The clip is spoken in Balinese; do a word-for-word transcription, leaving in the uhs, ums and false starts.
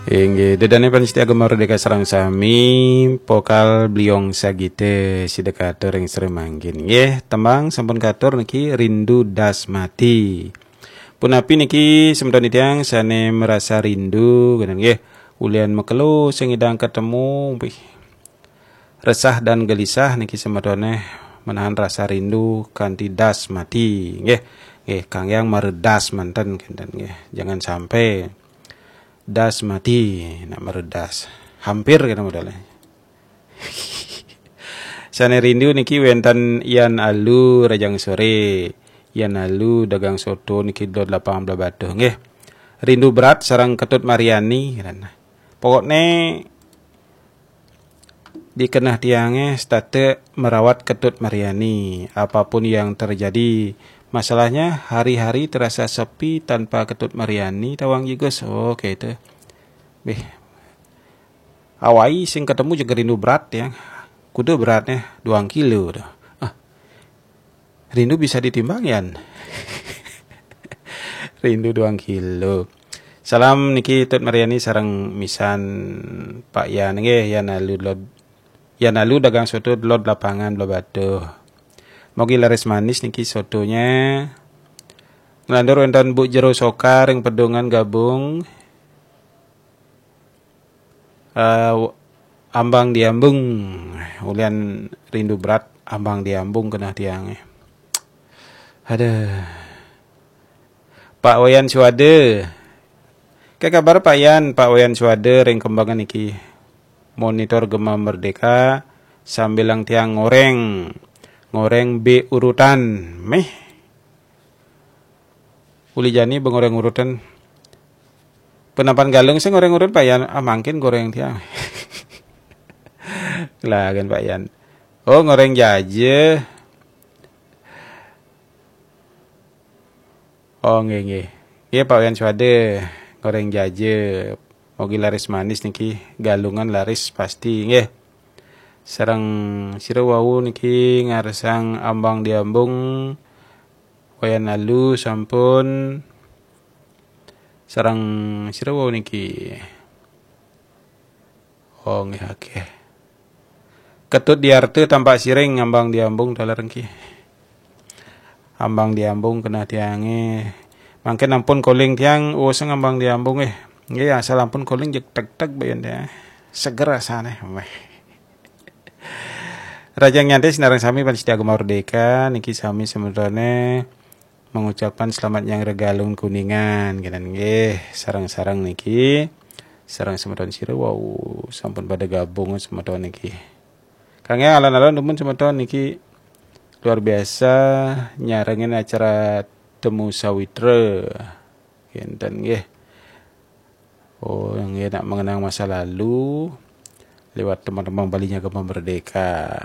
Inggih, ida dané pamiarsa Gema Merdeka sareng sami, vokal Bliong Sagita sida katur ring sira mangkin. Nggih, tembang sampun katur niki Rindu Das Mati. Punapi niki semeton titiang sané merasa rindu, ngéten nggih. Ulian makelo sing nyidang ketemu, wih. Resah dan gelisah niki semetoné menahan rasa rindu kanti das mati. Nggih, nggih, kanggiang maredas manten kénten nggih. Jangan sampai das mati nak maredas. Hampir kena modalnya. Sané rindu niki wénten Yan Alu Rajang Sore. Yan Alu dagang soto niki Dot Lapangan Blahbatuh nggih. Rindu berat sareng Ketut Mariani. Pokoknya di keneh tiangé setata merawat Ketut Mariani. Apapun yang terjadi, masalahnya hari-hari terasa sepi tanpa Ketut Mariani, tawang Jigus. Oh, kayak itu. Bih, awai sing ketemu juga rindu berat ya. Kuda beratnya dua kilo dah. Ah, rindu bisa ditimbang, Yan? Rindu dua kilo. Salam niki Tut Mariani sareng misan Pak Yan nggih, Yan Alu Lod, Yan Alu dagang soto Dot Lapangan Blahbatuh. Mogi laris manis niki sotonya. Nglantur wénten Bu Jero Soka ring Pedungan gabung. Eh, ambang diambung, ulian rindu berat, ambang diambung keneh tiangé. Aduh. Pak Wayan Suwada. Kayak kabar Pak Yan, Pak Wayan Suwada ring Kembangan niki. Monitor Gema Merdeka sambilang tiang ngoreng. Ngoreng bé urutan. Méh. Uli jani bé ngoreng urutan. Penapan Galung sing ngoreng urutan Pak Yan, ah, mangkin goreng tiang. Lah kan Pak Yan. Oh, ngoreng jaja. Oh, nggih, nggih. Nggih, Pak Wayan Suwada, goreng jaja. Mogi laris manis niki, Galungan laris pasti nggih. Sareng sira wau niki ngarsang ambang diambung, Wayan Alu sampun, sareng sira wau niki. Oh, nggih, akeh. Ketut Diarte Tampak Siring, ambang diambung taler niki. Ambang diambung keneh tiangé. Mangkin ampun calling tiang, oh, sing ambang diambung nggih. Nggih, asal ampun calling jeg teg-teg bayan ya. Seger rasane. Weh. Rajang nyantai sinareng sami pamiarsa Gema Merdeka niki sami semetone mengucapkan selamat nyanggra Galungan Kuningan kenen nggih, sareng-sareng niki. Sareng semeton sira wau sampun pada gabung semeton niki. Kangge alon-alon dumun semeton niki luar biasa nyarengin acara Temu Sawitra. Kenten nggih. Oh, nggih, nak mengenang masa lalu lewat teman-teman Bali Nyagama Merdeka.